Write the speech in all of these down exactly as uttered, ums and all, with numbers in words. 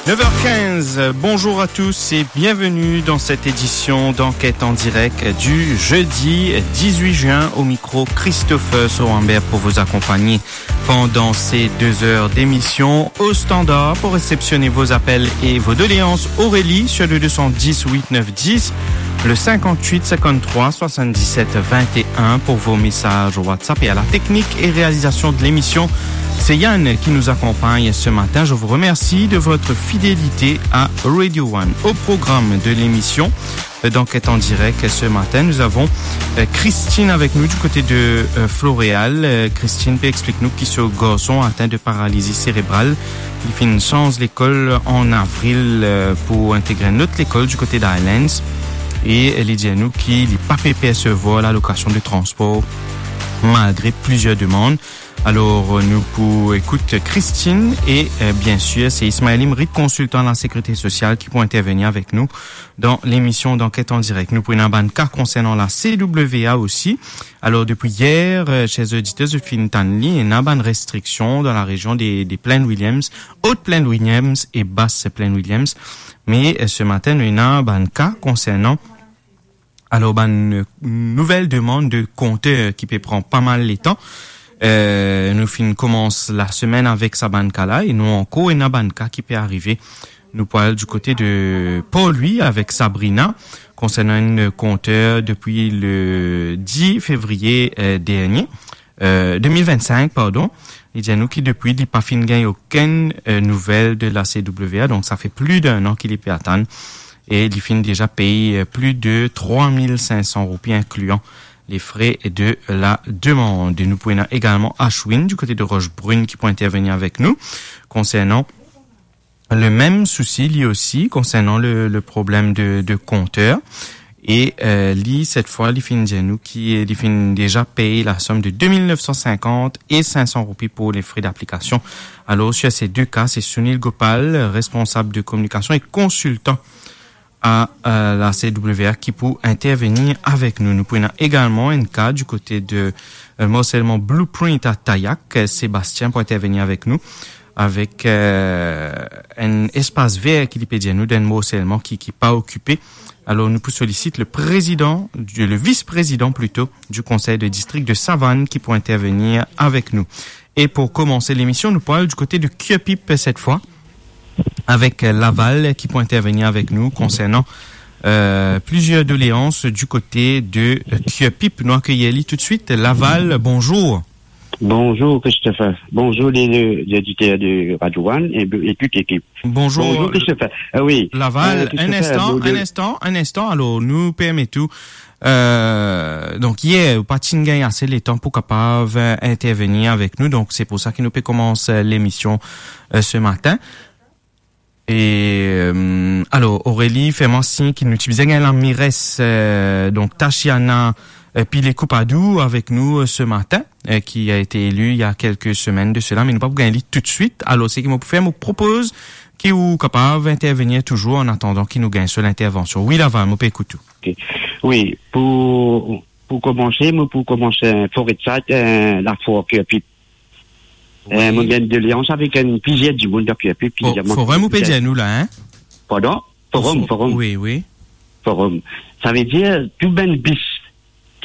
Neuf heures quinze, bonjour à tous et bienvenue dans cette édition d'Enquête en direct du jeudi dix-huit juin. Au micro, Christopher Sorambert pour vous accompagner pendant ces deux heures d'émission. Au standard, pour réceptionner vos appels et vos doléances, Aurélie sur le deux cent dix huit neuf dix, le cinquante-huit cinquante-trois soixante-dix-sept vingt et un pour vos messages WhatsApp. Et à la technique et réalisation de l'émission, c'est Yann qui nous accompagne ce matin. Je vous remercie de votre fidélité à Radio One. Au programme de l'émission, euh, d'Enquête en direct ce matin, nous avons, euh, Christine avec nous du côté de, euh, Floréal. Euh, Christine pe explik nou ki so garson atin de paralizi serebral. Li finn sanz lekol an avril, euh, pou integre enn lot lekol du côté d'Highlands. E li dir nou ki li pa pe persevwar lalokasion de transpor malgre plizier demann. Alor, nou pou ekout Christine e, euh, bien sir, se Ismaël Imrit, konsiltan lasekirite sosial, ki pou intervenir avek nou dan lemision d'Enquête en direct. Nou pou ena bann ka konsernan la C W A osi. Alor, depi yer, euh, cher oditer, zot finn tann li, ena bann restriksion dan larezion de, de Plaine Williams, Haute Plaine Williams e Basse Plaine Williams. Me, euh, se matin, nou ena bann ka konsernan Alor, bann, euh, nouvel demann de konter ki pe pran pa mal letan. Euh, nou finn koumans lasemenn avek sa bann ka la e nou ankor ena bann ka ki pe arive. Nou pou al du kote de Port-Louis avek Sabrina konsernan enn konter depi le dix fevriye, euh, dernie, euh, deux mille vingt-cinq, pardon. Li dir nou ki depi li pa finn gagn okenn, euh, nouvel de la C W A, donk sa fer plis de enn an ki li pe atann. E li finn deza pey, euh, plis de trois mille cinq cents roupi, inklian lefre de la demann. Nou pou ena egalman Ashwin du kote de Roche Brune ki pou intervenir avek nou konsernan le mem sousi, li osi, konsernan le, le problem de, de konter. E, euh, li, set fwa, li finn dir nou ki li finn deza pey lasom de deux mille neuf cent cinquante et cinq cents roupi pour les frais d'application. Alor, sur ces deux cas, c'est Sunil Gopal, responsab de kominikasion e konsiltan a, euh, la C W A ki pou intervenir avek nou. Nou pou ena egalman enn ka du kote de, euh, morselman Blueprint a Tayak. Sébastien pou intervenir avek nou avek, euh, enn espas ver ki li pe dir nou, dan enn morselman ki, ki pa okipe. Alor, nou pou solisit le président, du, le vice-président plutôt, du conseil de district de Savane ki pou intervenir avek nou. E pou komanse lemision, nou pou al du kote de Curepipe set fwa, avek, euh, Laval ki pou intervenir avek nou konsernan, euh, plizier doleans du kote de, euh, Curepipe. Nou akeyir li toutswit. Laval, bonzour. Bonzour Christopher. Bonzour les, les, les auditeurs de Radio One et, et toute l'équipe. Bonzour, Bonzour Christopher. Ah oui. Laval, Euh, enn Christopher, instan, bonjour. Enn instan, enn instan. Alor, nou permet ou, euh, donk yer, ou pa ti gagn ase letan pou kapav, euh, intervenir avek nou. Donk, se pou sa ki nou pe koumans, euh, lemision, euh, se matin. E, euh, alor, Aurélie fer mwa sign ki nou ti bizin gagn la mairesse, euh, donk Tashiana, euh, Pillay-Coupadou avek nou, euh, se matin, euh, qui a été élue il y a quelques semaines de cela, me nou pa pou gagn li toutswit. Alor, seki mo pou fer, mo propoz ki ou kapav intervenir touzour an atandan ki nou gagn so lintervansion. Wi, Laval, mo pe ekout ou. Ok. Wi, pou, pou koumanse, mo pou koumanse, euh, Forêtside, euh, Lafor, Curepipe. Euh, Wi. Mo gagn doleans avek enn plizier dimoun dan Curepipe ki Fo-, dir mwa forum ou pe dir nou la, hein? Pardon? Forum, Fo-, forum. Wi, wi. Forum. Savedir, tou bann bis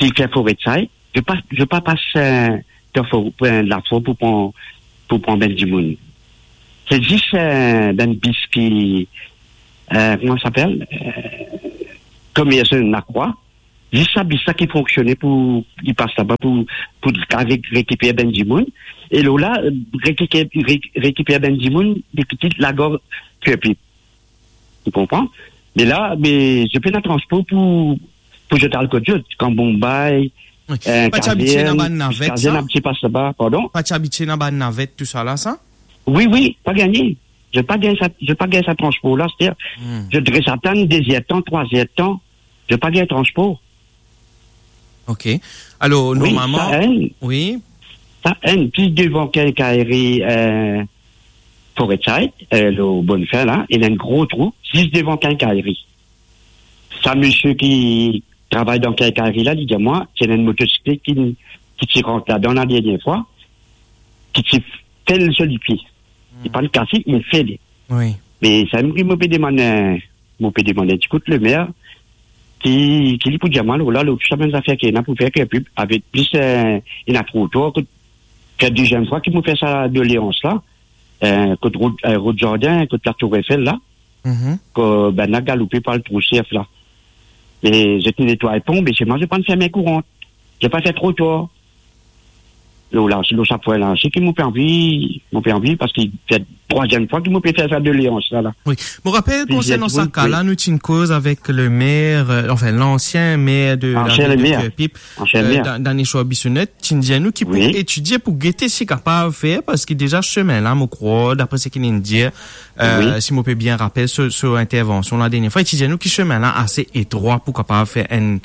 ki fer Forêtside, zot pa, zot pa pas, euh, dan for-, euh, Lafor pou pran, pou pran bann dimoun. Se zis, euh, bann bis ki, euh, kouma sa apel? Euh, komersan lakwa. Zis sa bis la ki fonksione pou, ki pas laba pou, pou re-, rekiper bann dimoun. E lor la, rekiper, re-, rekiper bann dimoun, depi Lagor Curepipe. Ou konpran? Me la, me zot pena transpor pou, pou zot al kot zot, kan Bombay, Wi. euh, Pa ti abitie Kazern, dan bann navet, Kazern sa? Abitie pas laba, pardon? Pa ti abitie dan bann navet, tou sa la, sa? Wi, wi, pa gagne. Zot pa gagn sa, zot pa gagn sa transpor la, setir, Hmm. zot dres atann de zer tan, trwa zer tan, zot pa gagn transpor. Ok. Alor, Wi, normalman, sa enn. Wi. Sa enn, plis devan quincaillerie, euh, Forêtside, euh, lor Bonnefin la, ena enn gro trou, zis devan quincaillerie. Sa misie ki travay dan quincaillerie la, li dir mwa, ti ena enn motosiklet ki, ki ti rant ladan la dernie fwa, ki ti fel so lipie. Li Hmm. pa'nn kase, li fel. Wi. Me samem ki mo pe demann, eh, mo pe demann enn ti kout lemer, ki, ki li pou dir mwa, lor la, lor sa bann zafer ki ena pou fer, ki pli, avek plis, eh, ena trotwar, kot fer deziem fwa ki mo fer sa doleans la, eh, kot rod, eh, rod zardin, kot la Tour Eiffel la, Mhm. kot bann la galoupe pou al trou serf la. E zot inn netway pon, me selman zot pa'nn ferme kourant. Zot pa fer trotwar. Lor la, lor sa pwin la, se ki mo pe anvi, mo pe anvi, parski se trwaziem fwa ki mo pe fer sa doleans la, la. Wi. Mo rapel, konsernan sa ka la, nou ti inn koz avek lemer, eh, anfin, lansien mer de lavil de Kerpip, ansien eh, mer. Dan, Danesh Bissonnette, ti inn dir nou ki pou etidie, pou gete si kapav fer, parski deza semin la, mo krwar, dapre seki li inn dir, eh, si mo pe bien rapel so, so intervansion la dernie fwa, li ti dir nou ki semin la ase etrwa pou kapav fer enn,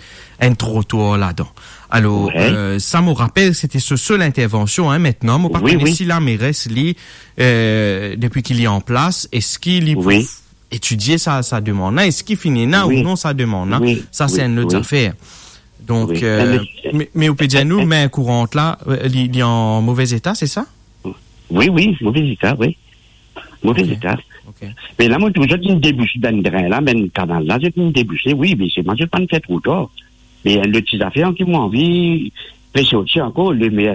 enn trotwar ladan. Alor, eh, sa mo rapel, sete so sel intervansion, hein. Aster, mo pa kone si lameres, li, eh, depi ki li an plas, eski li pou etidie sa, sa demann la, eski finn ena ou non sa demann la, sa se enn lot zafer. Donk, eh, me, me ou pe dir nou, mer kourant la, eh, li, li an move eta, se sa? Wi, wi, move eta, wi. Move eta. Ok. Me la, mo trouv zot inn debouse bann dren la, bann kanal la, zot inn debouse, wi, me selman zot pa'nn fer trotwar. Me enn lot ti zafer ki mo anvi fer sorti ankor, lemer,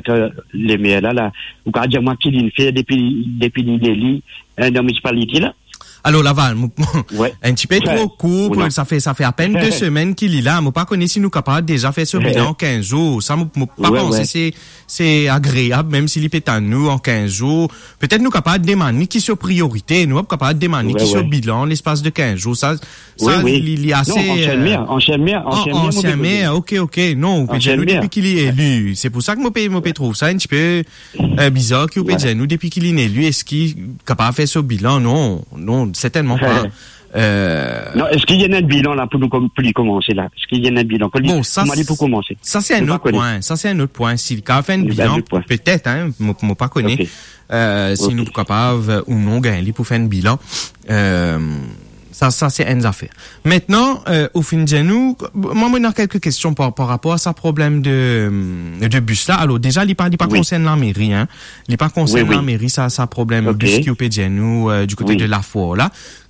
lemer la, la, ou kapav dir mwa ki li'nn fer depi, depi li'nn eli, eh, dan minisipalite la? Alor, Laval, mo, mo, enn tipe tro kour, pou, sa fer, sa fer apenn de semenn ki li la. Mo pa kone si nou kapav deza fer so bilan an kinz zour. Sa, mo, mo pa panse se, se agreab, mem si li pe tann nou an kinz zour. Petet nou kapav demann li ki so priorite, nou kapav demann li ki so bilan lespas de kinz zour. Sa, sa, li, li ase, non, ansien mer, eh, ansien mer, an-, ansien mer, mo pe koze. Ok, ok. Non, ou pe dir nou depi ki li eli. Se pou sa ki mo pe, mo pe trouv sa enn tipe eh, bizar ki ou pe dir nou, depi ki li'nn eli, eski kapav fer so bilan? Non, non, sertennman pa. Eh, non, eski ena enn bilan la pou nou kom-, pou li komanse la? Eski ena enn bilan? Bon, sa, kouma li pou komanse? Sa se enn lot pwin. Sa se enn lot pwin. Si li kapav fer enn bilan, petet, hein, mo, mo pa kone. Eh, si nou pou kapav, eh, ou non gagn li pou fer enn bilan. Eh, Sa, sa se enn zafer. Aster, eh, ou finn dir nou, mwa, mo ena kelke kestion par, par rapor a sa problem de, de bis la. Alor, deza, li pa, li pa konsern lameri, hein. Li pa konsern lameri, sa, sa problem bis ki ou pe dir nou, eh, di kote de Lafwar la.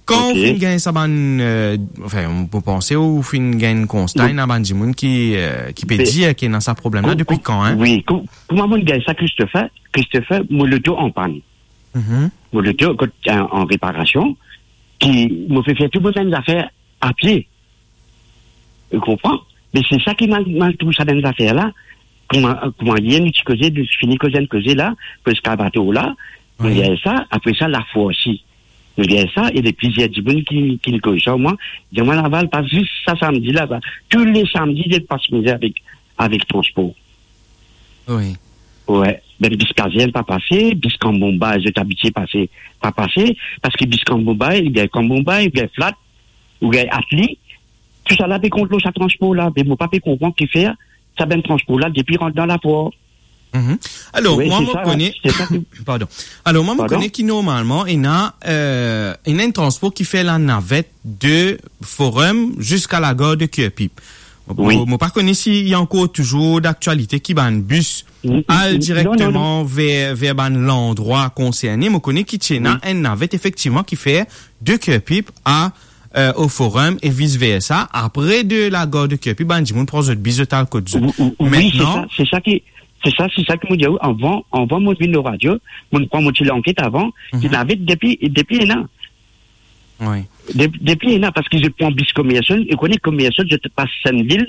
Kan ou finn gagn sa bann, eh, anfin, mo panse ou finn gagn konsta, ena bann dimoun ki, eh, ki pe dir ki ena sa problem la depi kan, hein? Wi, kou-, kouma mo gagn sa, Christopher, Christopher, mo loto an pann. Mhm. Mo loto, kot, an, an reparasion, ki mo pe fer tou mo bann zafer apie. Ou konpran? Me se sa ki mal, mal trouv sa bann zafer la. Kouma, kouma yer nou ti koze, nou ti fini koze enn koze la, pou eskavator la, nou gagn sa, apre sa, Lafwar osi. Nou gagn sa, e ena plizier dimoun ki, ki koz sa, mwa, dir mwa, Laval, pa zis sa samdi la, ba, tou le samdi, zot pas mizer avek, avek transpor. Wi. Wi, bann bis Kazern pa pase, bis Kambombay, zot abitie pase, pa pase, parski bis Kambombay, oubien Kambombay, oubien Flat, oubien Atli, tousala pe kont lor sa transpor la, me mo pa pe konpran kifer sa bann transpor la depi rant dan Lafwar. Mhm. Alor, wi, mwa, mo kone, se sa ki pardon. Alor, mwa, mo kone ki normalman, ena, eh, ena enn transpor ki fer lanavet de Forum ziska lagare de Kerpip. Mo, mo pa kone si li ankor touzour daktialite ki bann bis al direkteman ver, ver bann landrwa konserne. Mo kone ki ti ena enn navet efektivman ki fer de Kerpip a, eh, o Forum e vis versa. Apre de lagare de Kerpip, bann dimoun pran zot bis, zot al kot zot. Wi, wi, wi, se sa, se sa ki, se sa, se sa ki mo dir ou, avan, avan mo vinn lor radio, mo pran mo ti lanket avan, mhm, ki navet depi, depi ena. Wi. De-, depi ena, parski zot pran bis Commercial, e kone Commercial, zot pas Sennvil,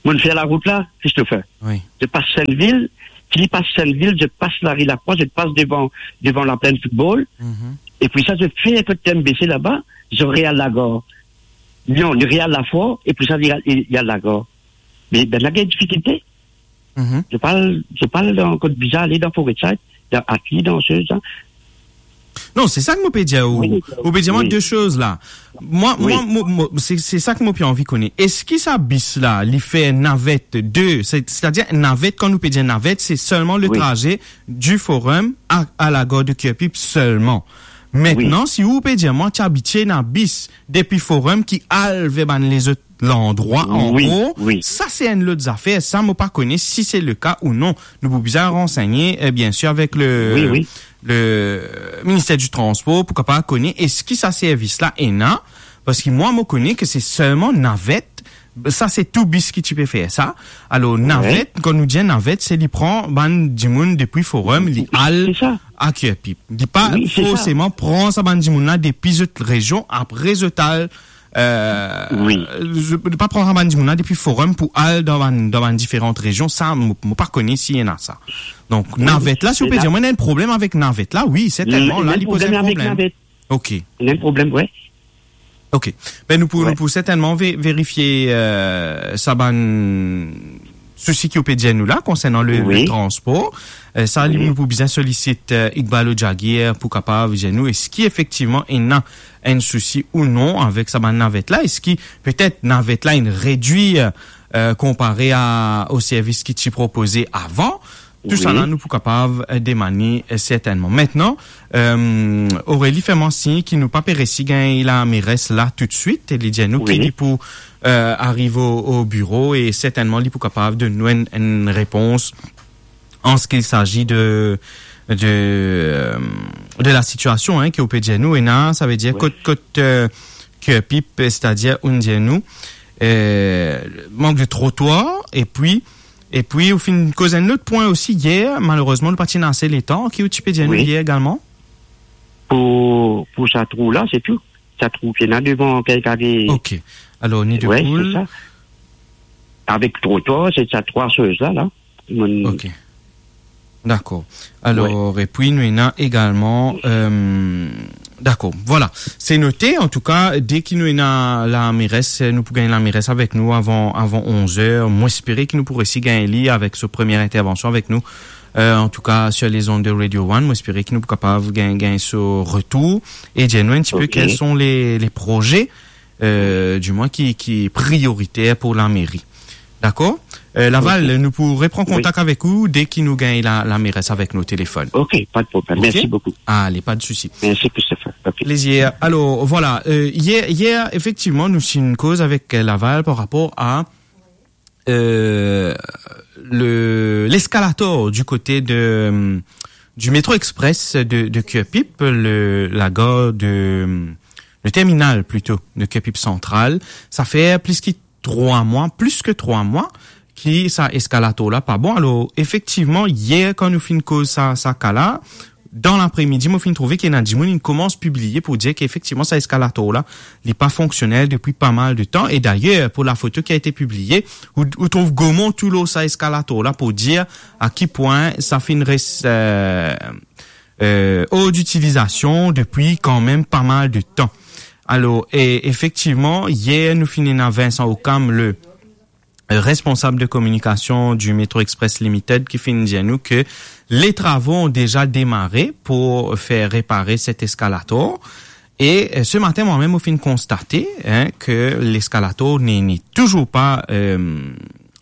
mo fer larout la, Christopher. Wi. Zot pas Sennvil, ki li pas Sennvil, zot pas lari Lafwar, zot pas devan, devan laplenn foutbol. Mhm. Epi sa, zot fer kot MBC laba, zot re al lagare. Non, li re al Lafwar, epi sa, li al, li al lagare. Me, bann la gagn difikilte. Mhm. Zot pa al, zot pa al dan kot bizin ale dan Forêtside, dan Atli, dan se, sa. Non, se sa ki mo pe dir ou. Wi, ou pe dir mwa, wi, de soz la. Mwa, wi, mwa, mo, mo, se, se sa ki mo pe anvi kone. Eski sa bis la, li fer navet de, se, setadir navet, kan nou pe dir navet, se selman le, wi, traze du Forum a, a lagare de Kerpip selman. Wi. Mintnan, si ou pe dir mwa, ti abitie ena bis depi Forum ki al ver bann lezot landrwa ankor, wi. Sa se enn lot zafer. Sa, mo pa kone si se le ka ou non. Nou pou bizin ransegne, eh, bien sir, avek le, wi, wi. Le Minister di Transpor pou kapav kone eski sa servis la ena, parski mwa, mo kone ke se selman navet. Sa se tou bis ki ti pe fer sa. Alor, wi. Navet, kan nou dir navet, se li pran bann dimoun depi Forum, li al a Curepipe. Li pa forseman pran sa bann dimoun la depi zot rezion, apre zot al, euh, li pa pran sa bann dimoun la depi Forum pou al dan bann, dan bann diferan rezion. Sa, mo, mo pa kone si ena sa. Donk, navet la, si ou pe dir mwa ena enn problem avek navet la, wi, sertennman, la, li poz enn problem. Ok. Ena enn problem, wi. Ok. Ben, nou pou, nou pou sertennman ve-, verifie, euh, sa bann sousi ki ou pe dir nou la, konsernan le, le transpor. Euh, sa, nou pou bizin solisit, euh, Iqbal Ojaguier pou kapav dir nou eski efektivman ena enn sousi ou non avek sa bann navet la. Eski petet navet la inn redwir, euh, konpare a, o servis ki ti propoze avan? Tou sa la, nou pou kapav, euh, demann li, euh, sertennman. Mintnan, euh, Aurélie fer mwa sign ki nou pa pe resi gagn lameres la toutswit, e li dir nou ki li pou, euh, ariv o, o biro, e sertennman li pou kapav donn nou enn, enn repons an se ki sazi de, de, euh, de la sitiasion, hein, ki ou pe dir nou, ena, sa ve dir kot, kot, euh, Curepipe, setadir, ou dir nou, euh, mank de trotwar, epi, epi ou finn koz enn lot pwin osi yer, malerezman, nou pa ti ena ase letan, ki ou ti pe dir nou yer egalman? Pou, pou sa trou la, se tou. Sa trou ki ena devan kek kare. Ok. Alor, ni de poul. Avek trotwar, se sa trwa soz la, la. Ok. Dakor. Alor, epi nou ena egalman, euh, dakor. Vwala. Se note. Antouka, deki nou ena lameres, nou pou gagn lameres avek nou avan, avan onz er. Mo espere ki nou pou resi gagn li avek so premie intervansion avek nou. Euh, antouka, sur les ondes de Radio One, mo espere ki nou pou kapav gagn, gagn so retour e dir nou enn tipe kels son le, le proze, euh, dimwin ki, ki prioriter pou lameri. Dakor? Euh, Laval, nou pou repran kontak avek ou deki nou gagn la, lameres avek nou o telefonn. Ok, pa de problem. Ok? Mersi boukou. Ale, pa de sousi. Mersi, Christopher. Ok. Plezir. Alor, vwala, euh, yer, yer, efektivman, nou ti inn koz avek, euh, Laval par rapor a, euh, le, leskalator du kote de, euh, du métro express de, de Curepipe, le, lagare de, euh, le terminal plito de Curepipe Central. Sa fer plis ki trwa mwa, plis ki trwa mwa ki sa eskalator la pa bon. Alor, efektivman, yer, kan nou finn koz sa, sa ka la, dan lapremidi, mo finn trouve ki ena dimoun inn koumans pibliye pou dir ki efektivman sa eskalator la, li pa fonksionel depi pa mal de tan. E dayer, pou lafoto ki a ete pibliye, ou, ou trouv Gaumont tou lor sa eskalator la pou dir a ki pwin sa finn res, euh, euh, or d'utilizasion depi kanmem pa mal de tan. Alor, e, efektivman, yer nou finn ena Vincent Ocam, le, euh, responsab de kominikasion du Metro Express Limited, ki finn dir nou ke les travaux ont déjà démarré pour faire réparer cet escalator. E, euh, se matin, mwa mem, mo finn konstate, hein, ke leskalator ne, ne touzour pa, euh,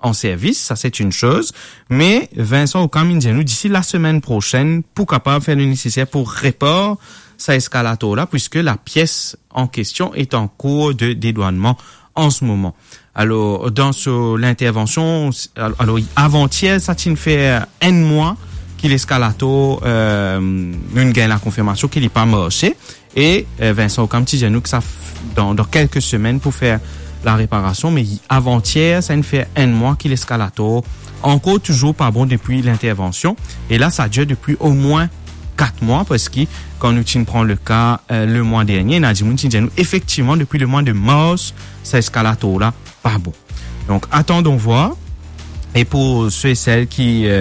an servis, sa se enn soz, me Vincent Ocam inn dir nou disi lasemenn prosenn pou kapav fer le neseser pou repar sa eskalator la, puiske la pies an kestion est en cours de dédouanement en ce moment. Alor, dan so lintervansion, al-, alor, avantier, sa ti'nn fer enn mwa ki leskalator, euh, nou gagn lakonfirmasion ki li pa marse. E, euh, Vincent Ocam ti dir nou ki sa f-, dan, dan kelke semenn pou fer lareparasion, me avantier, sa inn fer enn mwa ki leskalator ankor touzour pa bon depi lintervansion. E la, sa dir depi omwin kat mwa, parski kan nou ti'nn pran le ka, euh, le mwa dernie, ena dimoun ti dir nou, efektivman, depi le mwa de mars, sa eskalator la pa bon. Donk, attendons voir. E pou se e sel ki, euh,